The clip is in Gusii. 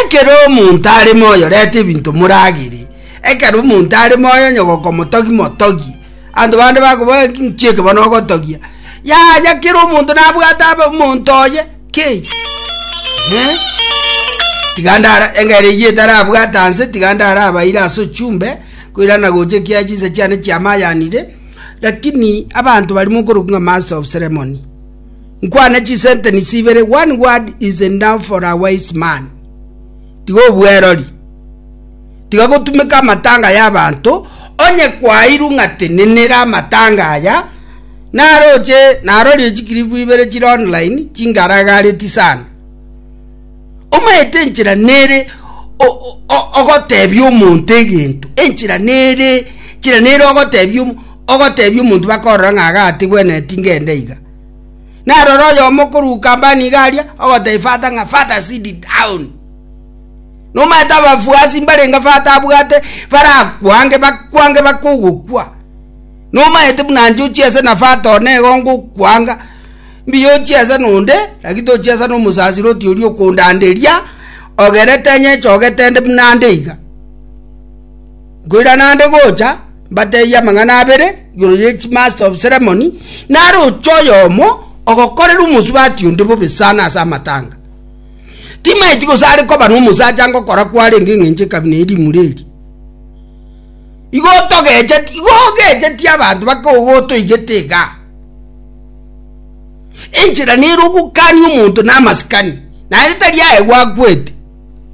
Ekero omonto are moyo reta ebinto moragere, ekero omonto are moyo onye gokomotogia motogie. Abanto bande bakobora nki eke bono ogotogia? Yaya kera omonto nabwate abe omonto oye ki? Eh? Tiga ndara engero eyio etarabwata nse tiga ndarabaire ase ochumbe koirana gocha ekiagera chinsa chiane chiamayanire, lakini abanto baria mokorokwa ng'a master of ceremony. Nkwane chisentenisi ibere, one word is enough for a wise man. Tiga obwerori. Tiga gotumeka amatanga y'abanto, onye kwairwe ng'a tenenera amatanga aya, naroche narorire chikiripu ibere chire online chingaragareti sana. Omanyete enchera nere ogotebia omonto egento, enchera nere enchera nere ogotebia ogotebia omonto bakorora ng'a igaa tigwenereti ngende iga. Narora oyomo korwa Ukambani iga aria, ogotebia father ng'a father sit down. Nomanyete abafuasi mbarenge father abwate barakwange bakwange bakogokwa. Nomanyete buna inche ochiese na father one igo ngokwanga, mbuya ochiese nonde, lakini tochiesa na omosasiroti oria okondanderia, ogerete nyechogete nde buna nde iga. Nkoirana nde gocha, mbatebie amang'ana abere igoro ye chimaster of ceremony, naroche oyomo ogokorera omosubati onde bobe sana ase amatanga. Timaeti gose are koba nomosacha ngokora kwarenge eng'encho ekabina ye rimura eri. Igo otogecheti, igo ogecheti abanto bakogotoigete igaa. Enchera nere ogokania omonto namasikani, naende tari aye gwakwete.